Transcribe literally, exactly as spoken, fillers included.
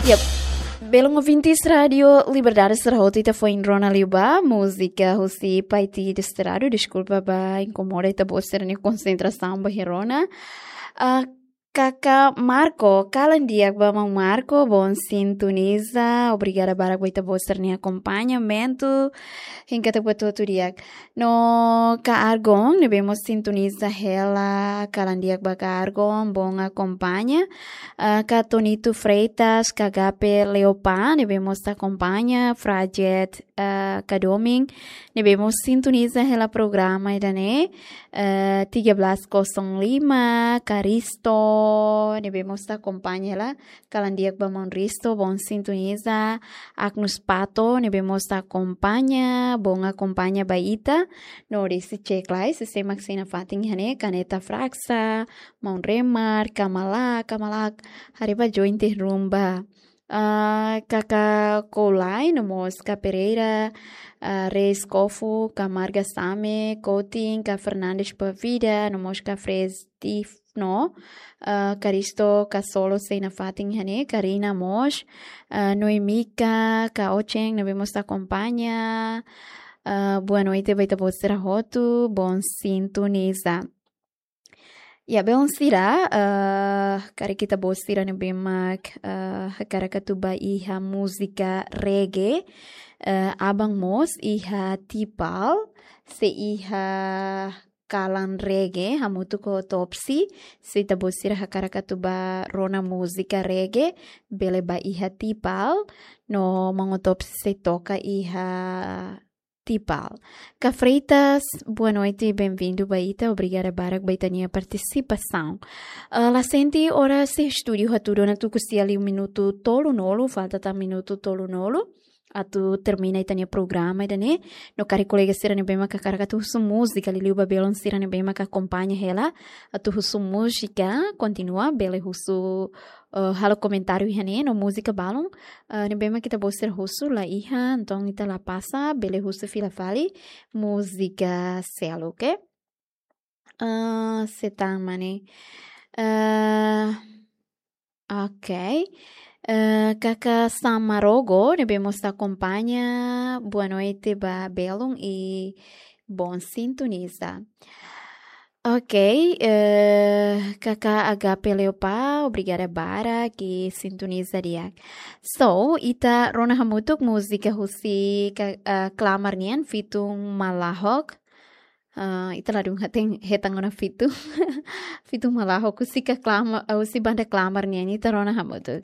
Yep. Belun ouvintes Rádio Liberdade sira hotu, ita foin rona liu ba múzika husi Paiti Desterrado. Deskulpa ba inkomoda ita-boot sira-nia konsentrasaun ba iha rona. Ah, Kaka Marco, kalan di'ak ba maun Marco, bom sintoniza. Obrigada barak ba ita-boot sira-nia akompañamentu. Hein katak buat hotu di'ak. No Ka Argon, ne'ebé mós sintoniza hela, kalan di'ak ba Ka Argon, bom akompaña. Ah, Ka Tonito Freitas, Ka Gape Leopa, ne'ebé mós akompaña, Frajet, ah, Ka Domin, ne'ebé mós sintoniza hela programa ida-ne'e, ah, tiga belas kosong lima, Ka Risto, ne'ebé mós akompaña hela, kalan di'ak ba maun Risto, bom sintoniza. Agnus Pato, ne'ebé mós akompaña, bom akompaña ba ita. No desi cek lai, sé-sé mak sei nafatin iha ne'e, Kaneta Fraksa, maun Remar, Kamala, Kamala, haree ba join tiha rumba. Ah, Kaka Kolai, no mós Ka Pereira, ah, Reis Kofu, Ka Marga Same, Kotin, Ka Fernandes Pavida, no mós Ka Fres Tif no, ah, Karisto, Ka Solo sei nafatin iha ne'e, Karina mós, ah, Noemika, Ka Ocheng, ne'ebé mós akompaña. Ah, boa noite ba ita-boot sira hotu, bom sintoniza. Ya, belun sira, ah, karik ita-boot sira ne'ebé mak, ah, hakarak atu ba iha múzika reggae, ah, aban mós iha Tipal, sei iha kalan reggae, hamutuk ho Otopsi, se ita-boot sira hakarak atu ba rona múzika reggae, bele ba iha Tipal, no maun Otopsi sei toka iha Tipal. Ka Freitas, boa noite, bem-vindo ba ita, obrigada barak ba ita-nia partisipasaun. Ah, la sente oras iha estúdiu hatudu ona tuku sia liu minutu tolunulu, falta tan minutu tolunulu atu termina ita-nia programa ida-ne'e. No karik kolega sira ne'ebé mak hakarak atu husu múzika, liuliu ba belun sira ne'ebé mak akompaña hela, atu husu múzika, kontinua, bele husu, eh, halo komentáriu iha ne'e, no múzika balun, eh, ne'ebé mak ita-boot sira husu la iha, entaun ita la pasa, bele husu fila fali múzika seluk, oke? Ah, sé tan mak ne'e. Ah, ok. Eh, Kaka Samarogo, ne'ebé mós akompaña, boa noite ba belun i bom sintoniza. Ok, eh, Kaka Agape Leopa, obrigada barak, sintoniza di'ak. So, ita rona hamutuk múzika husi Ka-, eh, Klamar nian, Fitun Malahok. Ah, ita ladún hatene hetan ona Fitun. Fitun Malahok, husi Ka Klamar, eh, husi banda Klamar nian, ita rona hamutuk.